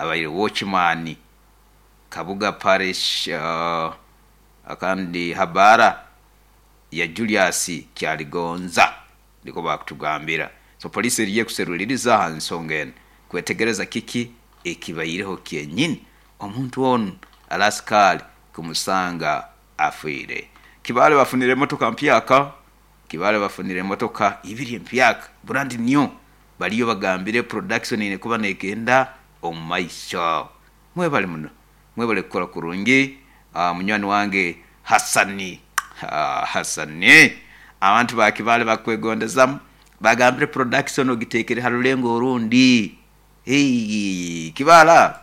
Abaire watchman Kabuga Parish, kandi habara ya Julius Kyaligonza, nikwo bakutugambira. So poliisi eriyo ekuseruliriza aha nsonga enu kwetegereza kiki ekibaireho kyenyini omuntu onu alaskaali kumusanga afiire. Kibaale bafunire emotoka mpyaka. Kibaale bafunire emotoka ibiri empyaka, brand new. Bariyo bagambire production eine kuba negenda omu maisho. Mwebale muno, mwebale kukora kurungi. Munywani wange Hasani, Hasani, abantu ba Kibaale bakwegondezamu, bagambire production ogitekere ha rulengo orundi. Kibaale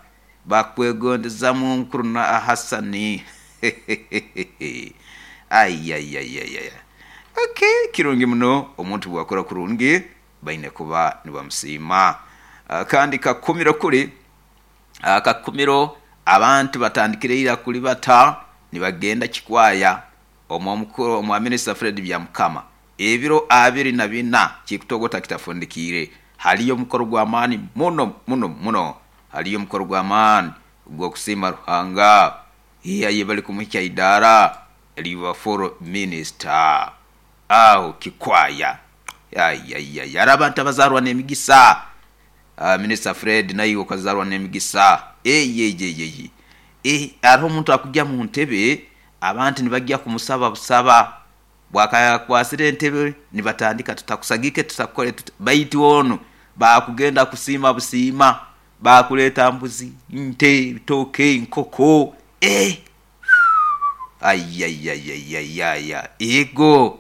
bakwegondezamu mukuru na Hasani. Ayayayaya. Okay, kirungi muno omuntu bwakora kurungi baine kuba nibamusiima. Kandi Kakumiro kuri, Kakumiro abantu batandikire ira kuribata nibagenda Kikwaya omwa Minisita Fred Byamukama. Ebiro 24 kikutogota kitafundikiire. Hariyo omukoro gw'amaani muno muno muno. Hariyo omukoro gw'amaani ogw'okusiima Ruhanga. Aye bali kumuhikya idaara eriba full minisita. Aho Kikwaya. Ayayaya. Hariho abantu abazaarwa n'emigisa. Minisita Fred naiwe okazaarwa n'emigisa. Eyeyeyeye. Hariho omuntu akugya mu ntebe, abantu nibagya kumusaba busaba. Bwakakwasire entebe nibatandika tutakusagike tutakukore tuta, baitu onu baakugenda kusiima busiima, baakuleeta mbuzi, nte, bitooke, nkoko. Ayayayayaya. Ego,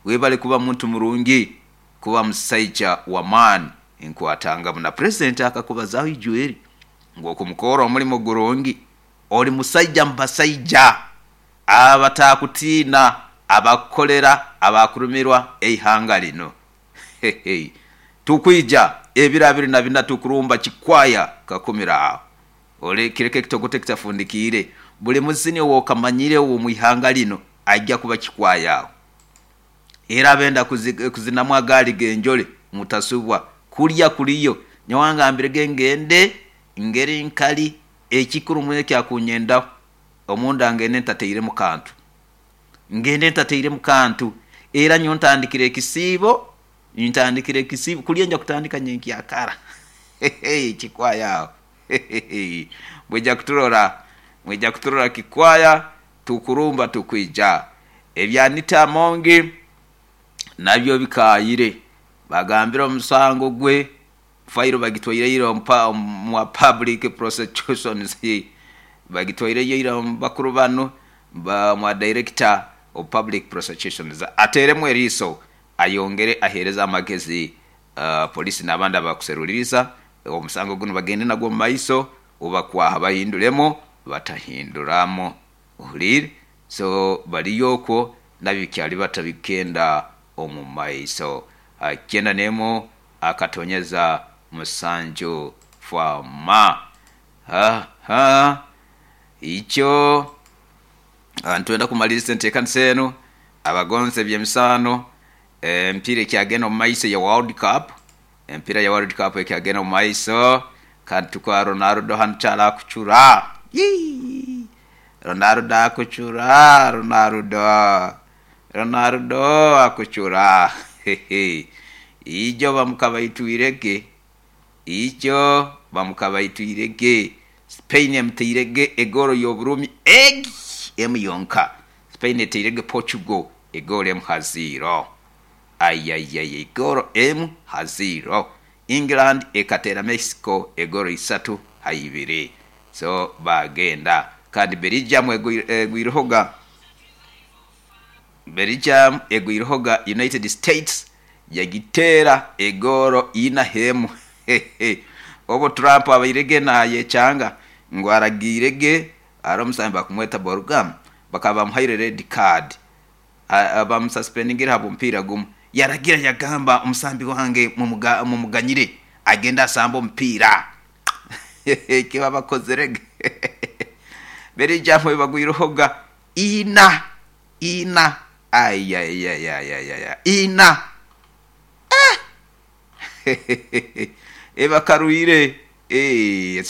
webale kuba muntu murungi, kuba musaija w'amaani. Nkwatangamu na purezidenti akakubazaho ijweri ngu okumukora omulimo gurungi, ori musaija mu basaija abatakutiina, abakukolera, abakurumirwa eihanga lino. Tukwija ebiro 24 tukurumba Kikwaya Kakumiro aho. Ole kireke ekitogote kitafundikiire. Buli muzini ow'okamanyire ow'omu ihanga lino aija kuba Kikwaya aho. Era abenda kuzinamu agaali g'enjole mutasubwa. Kulya kuliyo. Nyowe angambirege ngende ngeri nkali ekikuru muno ekyakunyendaho omunda ngende ntatairemu kantu. Ngende ntatairemu kantu. Era nyowe ntandikire ekisiibo, ntandikire ekisiibo kulya nja kutandika nyenkyakara. Kikwaya aho. Mwija kuturora, mwija kuturora Kikwaya, tukurumba tukwija. Ebya Anita Amongi nabyo bikaayire. Bagambire omusango gwe fairo bagitwaireyo omu public prosecutions, bagitwaireyo ira omu bakuru banu mwa director of public prosecutions ateeremu eriiso ayongere aheereze amagezi polisi n'abandi abakuseruliriza omusango gunu bagende nagwo omu maiso obakwaha bahinduremu batahinduramu. Ohuliire? So bariyo okwo nabyo bikyali bata bikenda omu maiso. 91.7 Fama. Ha, ikyo nitwenda kumaliriza enteekanisa enu. Abagonza eby'emizaano, emipiira ekyagenda omu maiso eya World Cup, emipiira ya World Cup ekyagenda omu maiso, kandi tukwa Ronaldo hanu kyali akucura. Yii! Ronaldo akucura, Ronaldo, Ronaldo akucura. Ijo bamukabaitwirege, ijo bamukabaitwirege. Spain emutairege egoolo y'oburumi egi emu yonka. Spain etairege Portugal egoolo emu ha ziiro. Ayayaya, egoolo emu ha ziiro. England ekateera Mexico egoolo isatu ha ibiri. So baagenda. Kandi Belgium egwirehoga, Belgium egwirehoga United States yagiteera egoolo ina h'emu. Obu Trump abairege naayecanga ngu aragiirege hariho omusambi bakumweta Borgam bakaba bamuhaire red card bamususpendingire habw'omupiira gumu. Yaragira yagamba omusambi wange mumuganyire agende asambe omupiira. Eki babakozirege. Belgium ebagwirehoga ina, ina, ayayayayaya, ina. Ebakarwire.